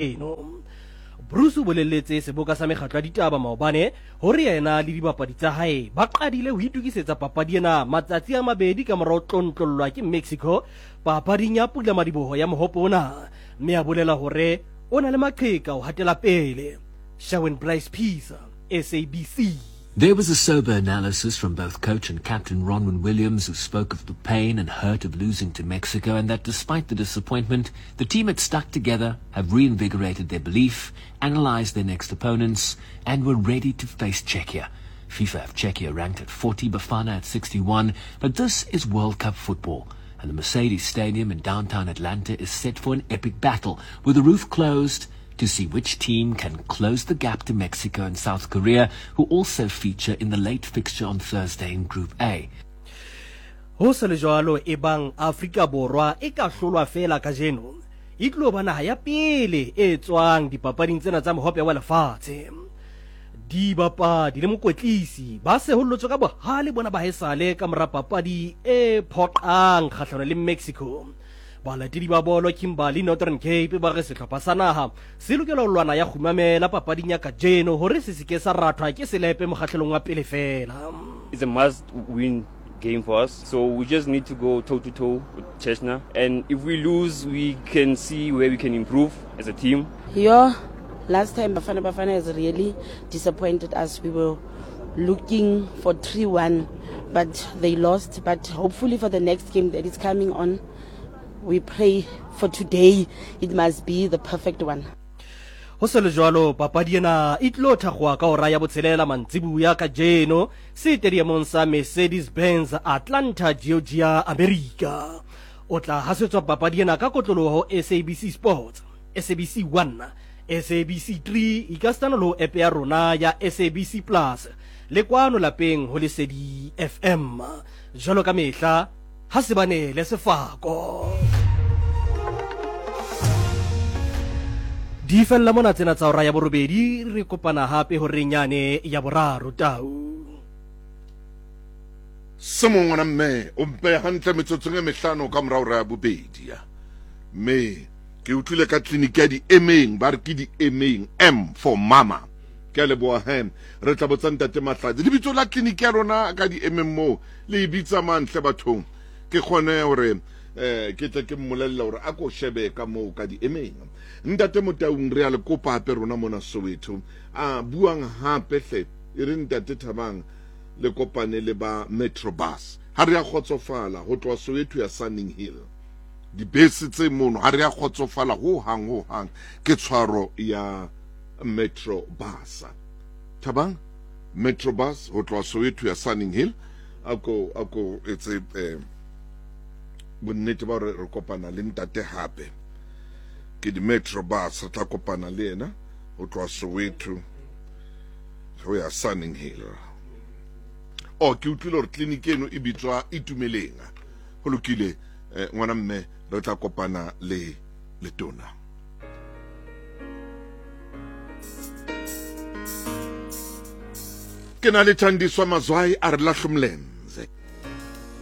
Eno. Broos o boleletse seboka sa mekgatlo ya ditaba maobane hore yena le dibapadi tsa hae ba qadile ho itokisetsa papadi ena matsatsi a mabedi ka mora ho tlontlollwa ke Mexico papading ya pulamadiboho ya mohope ona, mme a bolela hore o na le maqheka ho hatela pele. Sherwin Bryce Pease, SABC. There was a sober analysis from both coach and captain Ronwen Williams, who spoke of the pain and hurt of losing to Mexico and that despite the disappointment, the team had stuck together, have reinvigorated their belief, analysed their next opponents, and were ready to face Czechia. FIFA have Czechia ranked at 40, Bafana at 61, but this is World Cup football. And the Mercedes Stadium in downtown Atlanta is set for an epic battle, with the roof closed to see which team can close the gap to Mexico and South Korea, who also feature in the late fixture on Thursday in Group A. Ho se le jwalo, ebang Afrika Borwa e ka hlolwa feela kajeno, e tlo ba naha ya pele e tswang dipapading tsena tsa Mohope wa Lefatshe. Dibapadi le mokwetlisi ba sehollotswe ka bohale bona ba haesale ka mora papadi e phoqang kgahlano le Mexico. Balatedi ba bolo Kimberley, Northern Cape ba re sehlopha sa naha se lokela ho lwana ya kgumamela papading ya kajeno hore se se ke sa rathwa ke selepe mokgahlelong wa pele feela. It's a must win game for us. So we just need to go toe to toe with Chechnya. And if we lose, we can see where we can improve as a team. Yeah, last time Bafana Bafana has really disappointed us. We were looking for 3-1, but they lost. But hopefully for the next game that is coming on, we pray for today it must be the perfect one. Ho se le jwalo, papadi ena e tlo thakgowa ka hora ya botshelela mantsibuya kajeno setediamong sa Mercedes-Benz Atlanta, Georgia, Amerika. O tla hasetswa papadi ena ka kotloloho ho SABC Sports, SABC 1, SABC 3, ekasitana le ho app ya rona ya SABC Plus le kwano lapeng ho Lesedi FM. Jwalo ka mehla, ha se ba neele sefako. Di fella mona tsena tsa hora ya borobedi, re kopana hape horeng yane ya boraro. Tau. Se mong ngwana mme o mpe hantle metsotsong e mehlano ka mora hora ya bobedi ya mme ke utlwile ka tleliniki ya diemeng ba re ke diemeng M for mama ke a leboha he re tla botsa ntate Mahlatsi lebitso la tleliniki ya lona ka diemeng moo le e bitsa mang hle bathong ke kgone hore eh ke tle ke mmolelle hore a ko shebe ka moo ka diemeng ntate Motaung re a le kopa hape rona mona Soweto a buang hape hle e re ntate Thabang le kopane le ba Metrobus ha re a kgotsofala ho tloha Soweto ya Sunning Hill dibese tse mono ha re a kgotsofala ho hang ho hang ke tshwaro ya Metrobus Thabang Metrobus ho tloha Soweto ya Sunning Hill a ko a ko etse eh, bonnete ba hore re kopana le ntate hape ke di-Metrobus re tla kopana le yena ho tloha Soweto ho ya Sunning Hill o ke utlwile hore tleliniki eno e bitswa Itumeleng ho lokile eh, ngwana mme re tla kopana le letona ke na le Thandiswa Mazwai a re lahlomlem.